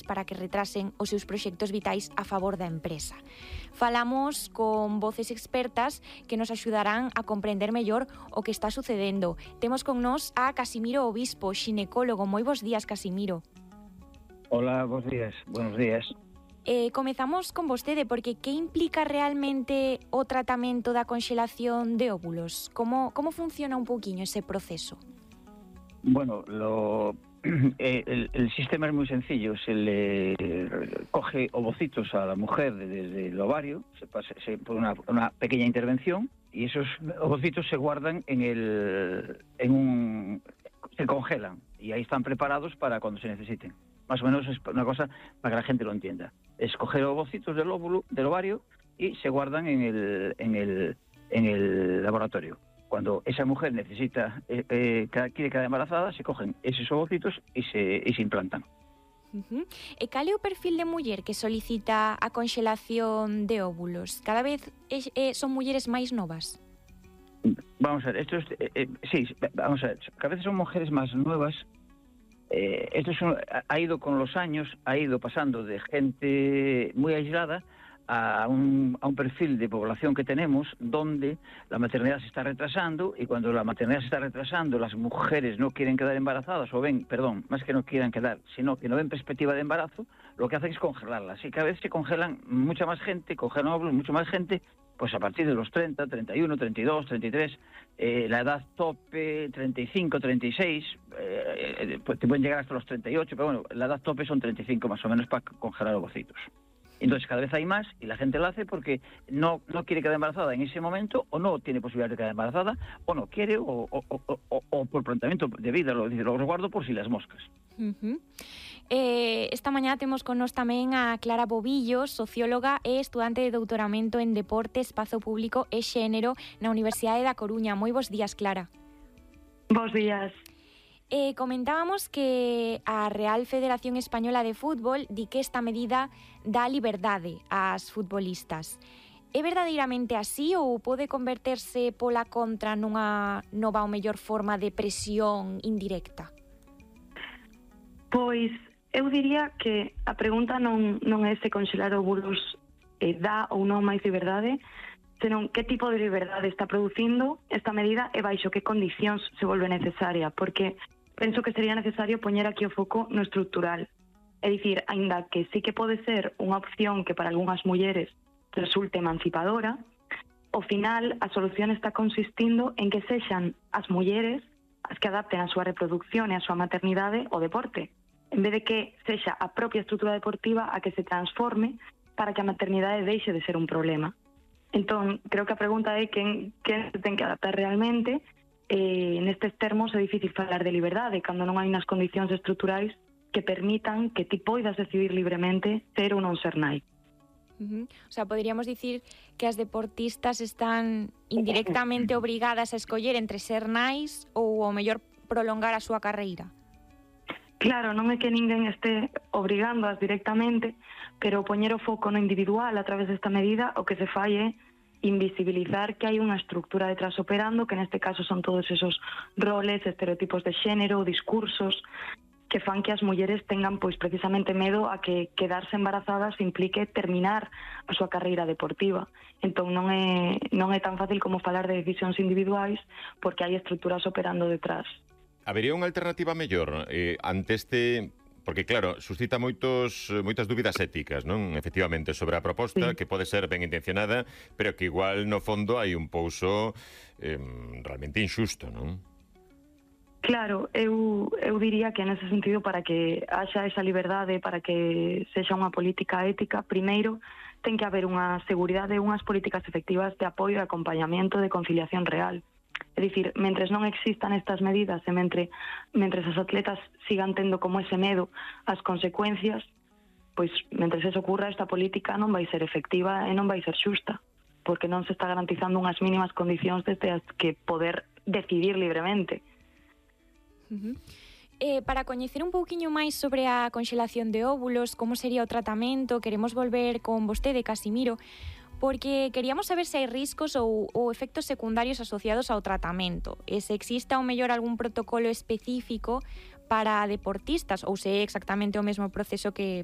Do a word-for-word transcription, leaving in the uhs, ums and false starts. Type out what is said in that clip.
para que retrasen os seus proxectos vitais a favor da empresa. Falamos con voces expertas que nos axudarán a comprender mellor o que está sucedendo. Temos con nós a Casimiro Obispo, xinecólogo. Moi bons días, Casimiro. Hola, bons días. Buenos días. Eh, comezamos con vostede, porque que implica realmente o tratamento da conxelación de óvulos? Como, como funciona un pouquiño ese proceso? Bueno, lo, eh, el, el sistema es muy sencillo. Se le coge ovocitos a la mujer desde el ovario, se pasa se, por una, una pequeña intervención, y esos ovocitos se guardan en el, en un, se congelan, y ahí están preparados para cuando se necesiten. Más o menos es una cosa para que la gente lo entienda. Es coger ovocitos del óvulo, del ovario, y se guardan en el, en el, en el laboratorio. Cuando esa mujer necesita, eh, eh, quiere quedar embarazada, se cogen esos ovocitos y se, y se implantan. Uh-huh. E cal é o perfil de muller que solicita a conxelación de óvulos? Cada vez es, eh, son mulleres máis novas? Vamos a ver, esto es, eh, eh, sí, vamos a ver, cada vez son mujeres más nuevas. Eh, esto es un, ha ido con los años, ha ido pasando de gente muy aislada a un, a un perfil de población que tenemos donde la maternidad se está retrasando, y cuando la maternidad se está retrasando, las mujeres no quieren quedar embarazadas, o ven, perdón, más que no quieran quedar, sino que no ven perspectiva de embarazo, lo que hacen es congelarlas, y cada vez se congelan mucha más gente, congelan óvulos, mucha más gente, pues a partir de los treinta, treinta y uno, treinta y dos, treinta y tres, eh, la edad tope, treinta y cinco, treinta y seis, eh, pues te pueden llegar hasta los treinta y ocho, pero bueno, la edad tope son treinta y cinco más o menos para congelar ovocitos. Entonces cada vez hay más, y la gente lo hace porque no, no quiere quedar embarazada en ese momento, o no tiene posibilidad de quedar embarazada, o no quiere, o, o, o, o, o por planteamiento de vida, lo, lo resguardo por si las moscas. Uh-huh. Eh, esta mañá temos con nós tamén a Clara Bobillo, socióloga e estudante de doutoramento en Deporte, Espazo Público e Xénero na Universidade da Coruña. Moi bons días, Clara. Bos días. Eh, comentábamos que a Real Federación Española de Fútbol di que esta medida dá liberdade ás futbolistas. É verdadeiramente así, ou pode converterse pola contra nunha nova ou mellor forma de presión indirecta? Pois eu diría que a pregunta non, non é se conxelar óvulos eh, dá ou non máis liberdade, senón que tipo de liberdade está producindo esta medida e baixo que condicións se volve necesaria, porque penso que sería necesario poñer aquí o foco no estrutural. É dicir, aínda que sí que pode ser unha opción que para algunhas mulleres resulte emancipadora, ao final a solución está consistindo en que sexan as mulleres as que adapten a súa reproducción e a súa maternidade ao deporte, en vez de que sexa a propia estrutura deportiva a que se transforme para que a maternidade deixe de ser un problema. Entón, creo que a pregunta é quen, quen se ten que adaptar realmente. Eh, nestes termos é difícil falar de liberdade cando non hai unhas condicións estruturais que permitan que ti poidas decidir libremente ser ou non ser nai. Uh-huh. O sea, poderíamos dicir que as deportistas están indirectamente obrigadas a escoller entre ser nais ou ao mellor prolongar a súa carreira. Claro, non é que ninguén este obrigándoas directamente, pero poñer o foco no individual a través desta medida o que se fai é invisibilizar que hai unha estructura detrás operando, que neste caso son todos esos roles, estereotipos de xénero, discursos, que fan que as mulleres tengan pois precisamente medo a que quedarse embarazadas implique terminar a súa carreira deportiva. Entón non é, non é tan fácil como falar de decisións individuais, porque hai estruturas operando detrás. Habería unha alternativa mellor eh, ante este... Porque, claro, suscita moitos, moitas dúbidas éticas, non? Efectivamente, sobre a proposta, sí, que pode ser ben intencionada, pero que igual, no fondo, hai un pouso eh, realmente injusto, non? Claro, eu, eu diría que nese sentido, para que haxa esa liberdade, para que sexa unha política ética, primeiro ten que haber unha seguridade e unhas políticas efectivas de apoio e acompañamento de conciliación real. É dicir, mentres non existan estas medidas e mentre, mentres as atletas sigan tendo como ese medo as consecuencias, pois mentres eso ocurra, esta política non vai ser efectiva e non vai ser xusta, porque non se está garantizando unhas mínimas condicións desde as que poder decidir libremente. Uh-huh. Eh, para coñecer un pouquiño máis sobre a conxelación de óvulos, como sería o tratamento, queremos volver con vostede, Casimiro, porque queríamos saber se hai riscos ou, ou efectos secundarios asociados ao tratamento, e se exista ou mellor algún protocolo específico para deportistas, ou se é exactamente o mesmo proceso que